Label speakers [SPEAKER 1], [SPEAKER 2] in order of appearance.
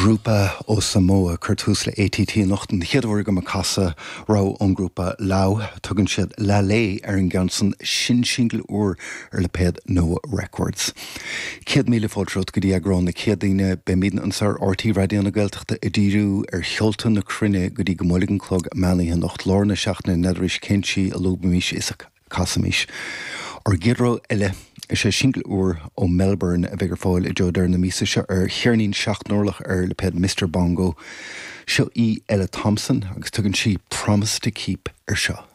[SPEAKER 1] Grúpa ó Samoa ag cur tús le ATT anocht. An chéad uair agam ag casadh rogha ón ngrúpa Lau. Tugann siad Lalei ar an gceann san, sin singil úr ar lipéad Noa Records. 100,000 fáilte romhat go dtí eagrán na Céadaoine. Beimidne anseo ar RTÉ Raidió na Gaeltachta ag díriú ar cheolta na cruinne go dtí go mbuailfidh an clog meánoíche anocht. Lár na seachtaine, n'fheadar arís cén tslí a lúbaimis is a. Casaimis. Ár gcéad rogha eile, is é singil úr ó Melbourne a bheidh ar fáil i dtreo deireadh na míosa seo ar cheirnín 7 n-orlach ar lipéad Mister Bongo. Seo í Ella Thompson agus tugann sí Promise to Keep ar seo.